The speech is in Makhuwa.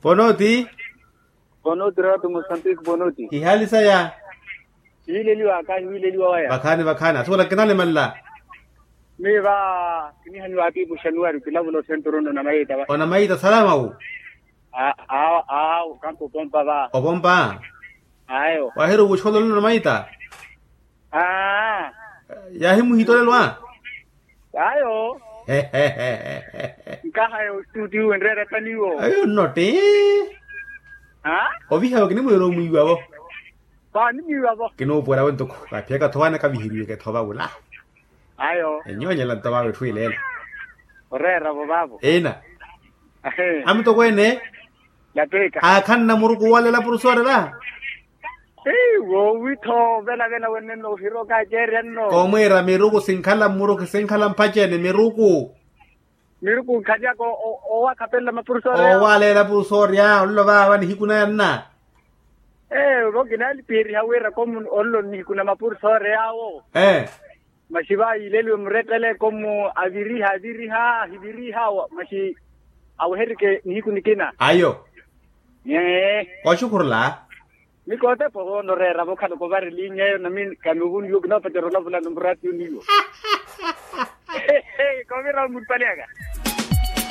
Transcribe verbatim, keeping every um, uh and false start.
Ponoti. Ponoti ratu mosambiki ponoti. Ihali saya. Hiwileliwa aka hiwileliwa waya. Vakhani vakhani asuwela kinalemalla. Miyo va kinihaniwa apipu xanuwari kilavula osenturuno na mayita va. Ona mayita salama wu. Awo kampa opompa va. Opompa. Ayo wahiri ovuxololelo na mayita. Aa. Yahimuhitolelwa. Ayo. Nkaha yo studio nreera taniwo ayo nnotti. Oviha yo kinimwiira omwiiwavo. Paani mwiiwavo. Kinuupuwela wentuku kaphiyaka tho wane kaviheriweke tho vavula. Ayo enyoonyela nto vavo etthu ileela. Oreeravo vavo ina. Amutokweene. Lapeka aakhanna muruku owalela purusoorela. Woowi-tho velavela wenenno ohira okaceerya nno. Koomwiira miruku sinkhala mmuruku sinkhala mphaci ene miruku. Miruku nkhalyaka owakhapelela mapurusoorya owalela purusoorya ololo vaava nihiku naya nna. Ee vo kinaalipiheriha wira komu ololo nihiku na mapurusoorya awo. Ee. Masi va yiileliwe murettele komu aviriha aviriha ahiviriha masi aweherike nihiku nikina. Ayo. Ee. Oxukhurula. Mikootepo hoona oreeravo okhala kovarelinya eyo nami kanuuvuniwa kinoopacerya olavulani muratiyo niyo. Kovira omurupali aka.